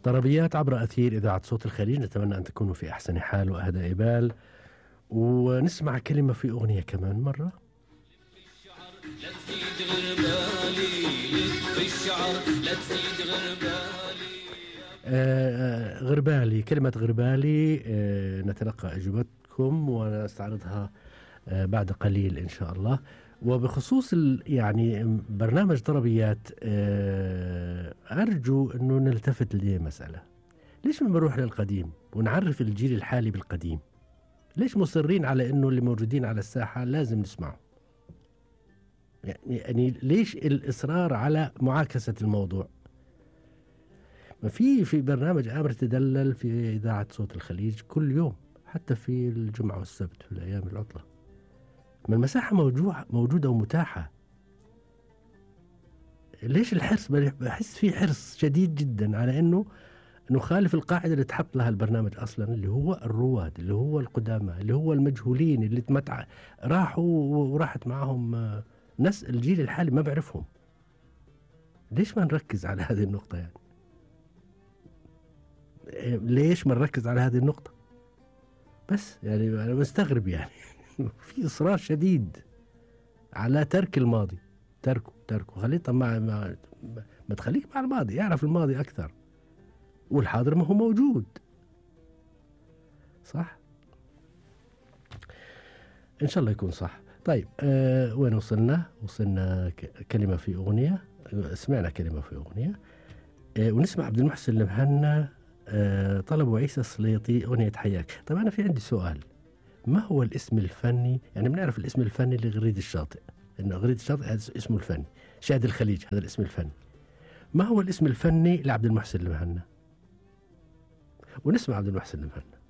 طربيات عبر أثير إذاعة صوت الخليج، نتمنى أن تكونوا في أحسن حال وأهدى بال، ونسمع كلمة في أغنية كمان مرة. لا تزيد غربالي، بالشعر لا تزيد غربالي. غربالي، كلمة غربالي نتلقى أجوبتكم ونستعرضها بعد قليل إن شاء الله. وبخصوص يعني برنامج طربيات، أرجو أنه نلتفت لمسألة. ليش ما بنروح للقديم ونعرف الجيل الحالي بالقديم؟ ليش مصرين على أنه اللي موجودين على الساحة لازم نسمعه؟ يعني ليش الإصرار على معاكسة الموضوع؟ ما في برنامج آمر تدلل في إذاعة صوت الخليج كل يوم، حتى في الجمعة والسبت في الأيام العطلة، ما المساحة موجودة ومتاحة. ليش الحرص؟ بحس في حرص شديد جدا على أنه نخالف القاعدة اللي تحط لها البرنامج أصلا، اللي هو الرواد، اللي هو القدامى، اللي هو المجهولين اللي راحوا وراحت معهم ناس الجيل الحالي ما بعرفهم. ليش ما نركز على هذه النقطة يعني؟ ليش ما نركز على هذه النقطة؟ بس يعني أنا مستغرب يعني في إصرار شديد على ترك الماضي. تركه خليه. طب ما تخليك مع الماضي، يعرف الماضي أكثر، والحاضر ما هو موجود. صح؟ إن شاء الله يكون صح. طيب وين وصلنا كلمة في أغنية. سمعنا كلمة في أغنية، ونسمع عبد المحسن المهنا طلبوا عيسى السليطي أغنية حياك. طيب أنا في عندي سؤال، ما هو الاسم الفني؟ يعني بنعرف الاسم الفني لغريد الشاطئ، إنه غريد الشاطئ هذا اسمه الفني، شاهد الخليج هذا الاسم الفني. ما هو الاسم الفني لعبد المحسن المهنا؟ ونسمع عبد المحسن المهنا.